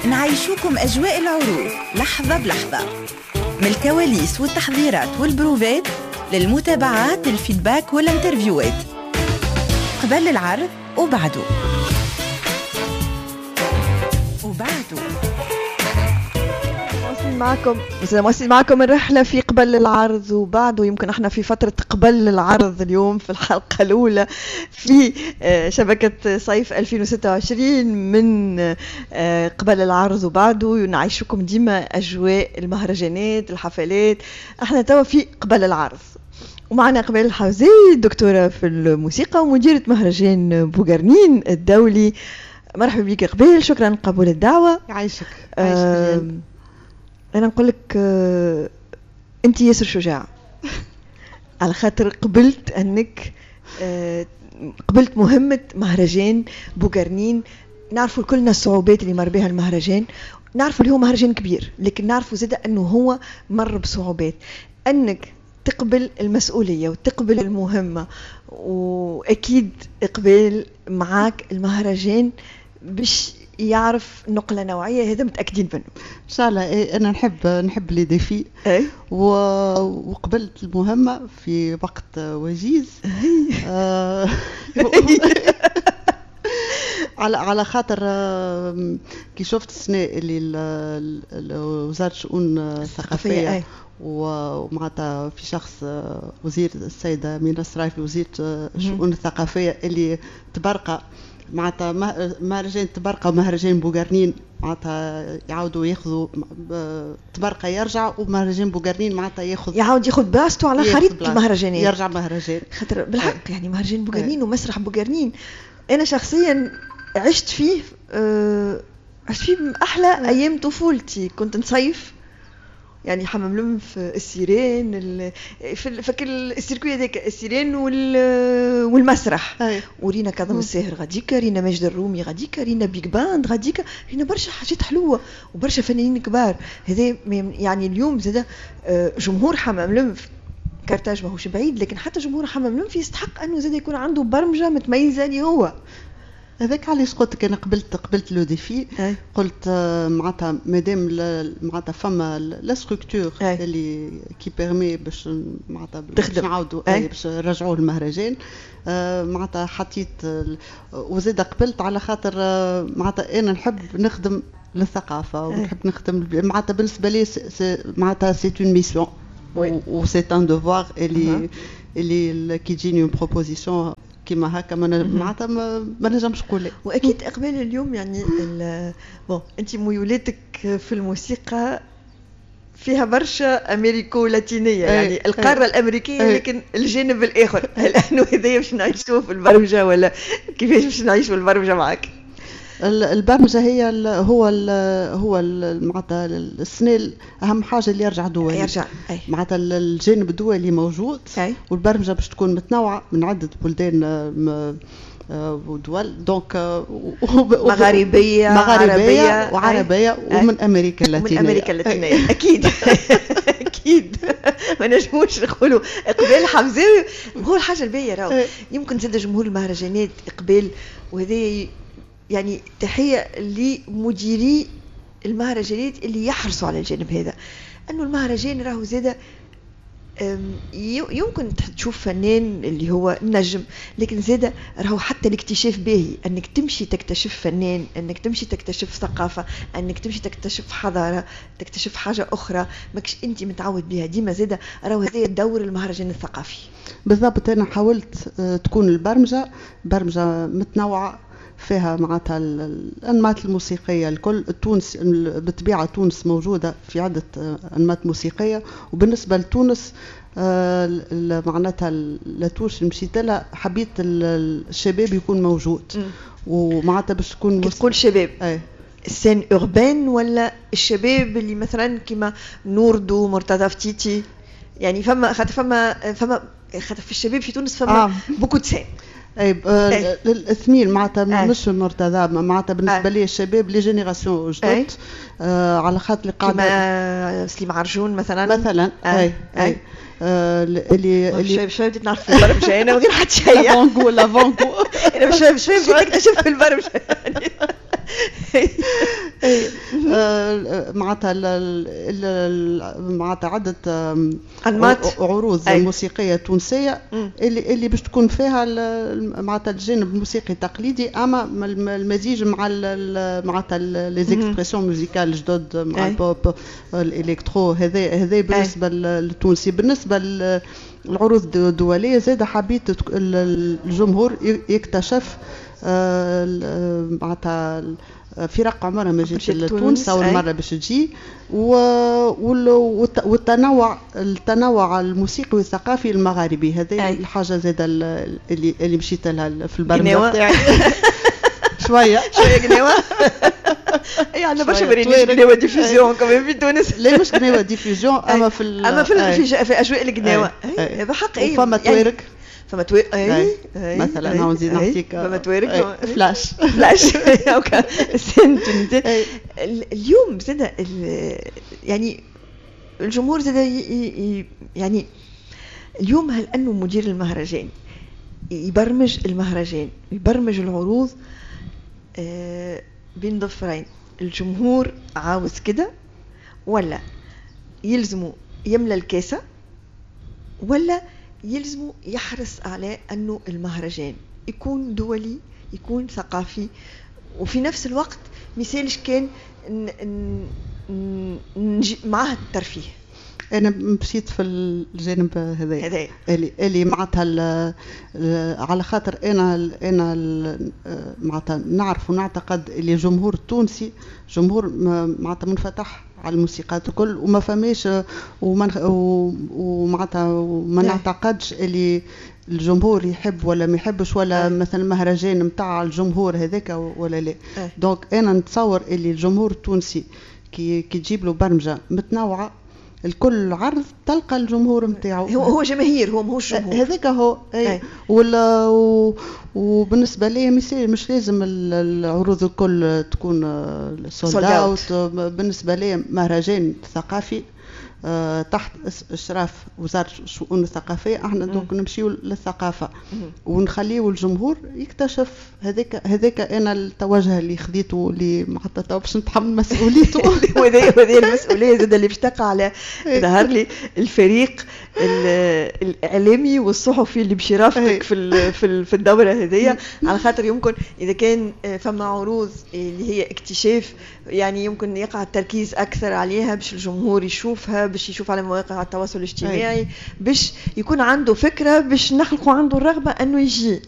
نعيشوكم أجواء العروض لحظة بلحظة، من الكواليس والتحضيرات والبروفات للمتابعات، ال feedback وال interview ات قبل العرض وبعده. مواصلين معكم الرحلة في قبل العرض وبعده. يمكن احنا في فترة قبل العرض اليوم في الحلقة الأولى في شبكة صيف 2026 من قبل العرض وبعده. نعيشكم ديما أجواء المهرجانات، الحفلات. احنا توا في قبل العرض ومعنا إقبال الحوزي، دكتورة في الموسيقى ومديرة مهرجان بوغرنين الدولي. مرحبا بك إقبال، شكرا لقبول الدعوة. يعيشك. يعيشك. أنا نقول لك أنت ياسر شجاعة على خاطر قبلت أنك قبلت مهمة مهرجان بوغرنين. نعرفوا كلنا الصعوبات اللي مر بها المهرجان، نعرفوا اللي هو مهرجان كبير، لكن نعرفوا زاد أنه هو مر بصعوبات. أنك تقبل المسؤولية وتقبل المهمة، وأكيد إقبال معاك المهرجان باش يعرف نقلة نوعية، هذا متأكدين منه إن شاء الله. إيه، أنا نحب les défis. إيه؟ وقبلت المهمة في وقت وجيز. على خاطر كي شفت السنة اللي وزارة الشؤون الثقافية ومعناتها في شخص وزير السيدة مينا السرايفي وزيرة الشؤون الثقافية اللي تبرقى معناتها مهرجان تبرقى ومهرجان بوغرنين، معناتها يعاودوا ياخذوا تبرقى يرجع، ومهرجان بوغرنين معناتها يعاود ياخذ بلاصته على خريطة المهرجانات، يرجع مهرجان. خاطر بالحق يعني مهرجان بوغرنين ومسرح بوغرنين أنا شخصيا عشت فيه، عشت فيه أحلى أيام طفولتي. كنت نصيف يعني حمام لنف، السيرين، فك ال circuit هذاك، السيرين والمسرح. ورينا كاظم الساهر غاديكا، رينا ماجد الرومي غاديكا، رينا big band غاديكا، رينا برشا حاجات حلوة وبرشا فنانين كبار. هذا يعني اليوم زاد جمهور حمام لنف، كارتاج ماهوش بعيد، لكن حتى جمهور حمام لنف يستحق انه زاد يكون عنده برمجة متميزة اللي هو هذاك. علاش قلت لك انا قبلت le défi. قلت معناتها مادام معناتها فما la structure اللي qui permet باش معناتها باش نعاودوا باش نرجعوا المهرجان، معناتها حطيت وزاد قبلت على خاطر معناتها انا نحب نخدم للثقافة ونحب نخدم معناتها بالنسبة لي معناتها c'est une mission و c'est un devoir اللي كي تجيني une proposition كيما هكا معناتها ما نجمش نقول. واكيد اقبال اليوم يعني bon انت ميولاتك في الموسيقى فيها برشا امريكو لاتينيه، يعني القارة الامريكية، لكن الجانب الاخر هل انه هذايا باش نعيشوه في البرمجة ولا كيفاش باش نعيشوا البرمجة معك؟ البرمجة هي ال هو ال هو معناتها السنة اهم حاجة اللي يرجع دولي، يرجع معناتها الجانب الدولي موجود. والبرمجة باش تكون متنوعة من عده بلدان ودول، donc مغاربيه مغاربيه وعربية ومن امريكا اللاتينية. من امريكا اللاتينية اكيد. اكيد ما نجموش نقولوا اقبال حمزاوي. هو الحاجة الباهيه راهو يمكن زاد جمهور المهرجانات اقبال، وهذا يعني تحية لمديري المهرجانات اللي يحرصوا على الجانب هذا، أنه المهرجان راهو زادة يمكن تشوف فنان اللي هو نجم، لكن زادة راهو حتى الاكتشاف باهي، أنك تمشي تكتشف فنان، أنك تمشي تكتشف ثقافة، أنك تمشي تكتشف حضارة، تكتشف حاجة أخرى ماكش أنت متعود بها. ديما زادة راهو هذا دور المهرجان الثقافي. بالضبط. أنا حاولت تكون البرمجة برمجة متنوعة فيها معناتها الأنماط الموسيقية الكل. تونس بالطبيعة تونس موجودة في عدة أنماط موسيقية، وبالنسبة لتونس معناتها la touche مشيت لها، حبيت الشباب يكون موجود. ومعناتها باش تكون تقول شباب ال scène urbaine ولا الشباب اللي مثلا كيما نوردو، مرتضى فتيتي، يعني فما خاطر فما خاطر في الشباب في تونس فما beaucoup de scènes. اي الاثنين معناتها مش مرتضى، معناتها بالنسبة لي الشباب les générations جدد، على خاطر اللي قاعدة كيما سليم عرجون مثلا. اي اي اللي شوي بديت نعرف في البرمجة انا من غير حتى شيء. l'avant-goût انا شوي شوي بديت نكتشف في البرمجة. معناتها معناتها عده أنماط. عروض موسيقية تونسية اللي باش تكون فيها معناتها الجانب الموسيقي التقليدي، اما المزيج مع معناتها les expressions musicales جدد، مع ال pop، ال électro. هذا بالنسبة للتونسي. بالنسبة للعروض الدولية زاد حبيت الجمهور يكتشف معناتها فرق عمرها ما جات لتونس، اول مرة باش تجي، والتنوع الموسيقي والثقافي المغاربي. هذه الحاجة زاد اللي مشيت لها في البرنامج تاعي. شوية شوية قناوه. اي، عندنا برشا برامج قناوه diffusion كمان في تونس. لا، مش قناوه diffusion، اما في اما في اجواء القناوه هذا حق. اي، فما توارق. فما توارق، اي. مثلا هاو نزيد نعطيك. فما توارق. فلاش. فلاش okay. اليوم زاد يعني الجمهور زاد، يعني اليوم هل انه مدير المهرجان يبرمج المهرجان، يبرمج العروض بين ظفرين الجمهور عاوز كده، ولا يلزمه يملى الكاسة، ولا يلزمه يحرص على أنه المهرجان يكون دولي، يكون ثقافي، وفي نفس الوقت مثالش كان معاه الترفيه؟ انا مشيت في الجانب هذا اللي معناتها على خاطر انا معناتها نعرف ونعتقد اللي الجمهور التونسي جمهور معناتها منفتح على الموسيقات الكل، وما فماش ومعناتها وما نعتقدش اللي الجمهور يحب ولا ما يحبش، ولا مثلا مهرجان نتاع الجمهور هذاك ولا لا. donc انا نتصور اللي الجمهور التونسي كي تجيب له برمجة متنوعه، الكل عرض تلقى الجمهور نتاعو. هو هو جماهير، هو ماهوش جمهور. هذاك هو، اي. ولا وبالنسبة لي مش لازم العروض الكل تكون sold out. بالنسبة لي مهرجان ثقافي تحت اشراف وزارة الشؤون الثقافيه، احنا donc نمشيو للثقافة ونخليو الجمهور يكتشف. هذاك انا التوجه اللي خذيته، اللي معناتها باش نتحمل مسؤوليته. وهذه المسؤولية زاد اللي باش تقع على ظهر لي الفريق الاعلامي والصحفي اللي باش يرافقك في الدورة هذيا، على خاطر يمكن اذا كان فما عروض اللي هي اكتشاف، يعني يمكن يقع التركيز اكثر عليها باش الجمهور يشوفها، باش يشوف على مواقع التواصل الاجتماعي، باش يكون عنده فكره، باش نخلقوا عنده الرغبة انه يجي.